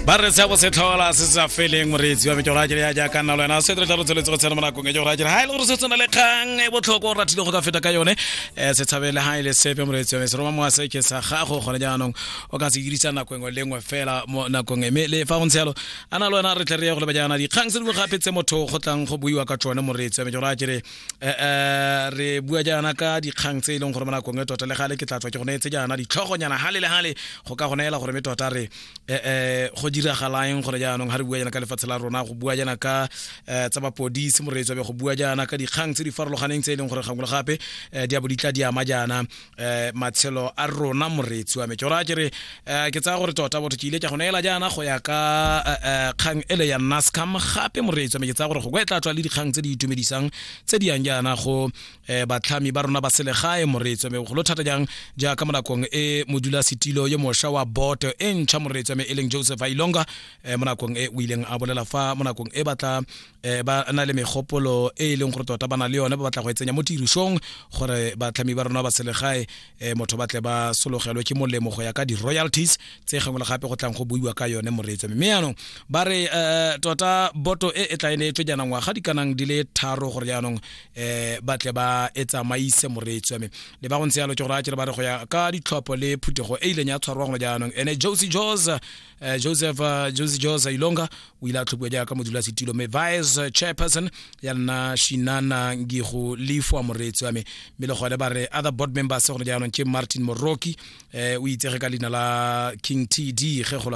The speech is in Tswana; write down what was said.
Ba re se bo se tlhola se sa feleng, moreetsi wa me. Ke gore a kere ya jaaka nna le wena se re tla re tsweletse go tshena mo nakong e. Ke gore a kere ha e le gore se tsena le kgang e botlhokwa o ratile go ka feta ka yone, se tshabele ha e le sepe, moreetsi wa me. Se roma mowa se ke sa gago gone jaanong, o ka se dirisa nako engwe le nngwe fela mo nakong e. Mme le fa go ntse jalo, a na le wena re tle re ye go leba jaana dikgang tse dingwe gape tse motho go tlang go buiwa ka tsone, moreetsi wa me. Ke gore a kere re bua jaana ka dikgang tse e leng gore mo nakong e tota le gale ke tla tswa ke go neetse jaana ditlhogonyana gale le gale go ka go neela gore me tota re go diragalang gore jaanong ga re bua jaana ka lefatshe la rona, go bua jaana ka tsa mapodisi, moreetsi wa be, go bua jaana ka dikgang tse di farologaneng tse e leng gore gangwe le gape di a bo di tla di ama jaana matshelo a rona, moreetsi wa me. Ke gore ke re ke tsaya gore tota botho ke ile ke go neela jaana go ya ka kgang ele ya Nascam gape, moreetsi wa me. Ke tsaya gore go e tla tswa le dikgang tse di itumedisang tse di yang jaana go batlhami ba rona ba selegae, moreetsi wa me, bogolo thata jang jaaka mo nakong e modula setilo yo mošwa wa boto e ntšha, moreetsi wa me, e leng Joseph Ailonga, mo nakong e o ileng a bolela fa mo nakong e batla ba na le megopolo e e leng gore tota ba na le yone, ba batla go e tsenya mo tirisong gore batlhami ba rona ba selegae motho ba tle ba sologelwe ke molemo go ya ka di-royalties tse gangwe le gape go tlang go buiwa ka yone, moreetsi. Mme yaanong ba re tota boto e e tla e neetswe jaana ngwaga di kanang di le 3 gore jaanong ba tle ba e tsamaise, moreetsi wa me. Le ba go ntse yalo, ke gore a kere ba re go ya ka ditlhopho le phuthego e ileng ya tshwarwa gone jaanong, ene Josie Jos Joseph Josie Jos Ilonga o ile a tlhophiwa jaaka modulasetilo, mme vice chairperson ya nna Shinana Ngigo Lefwa, moreetsi wa me. Mme le gone ba re other board members gone jaanong ke Martin Moroki, o itsege ka leina la King TD ge go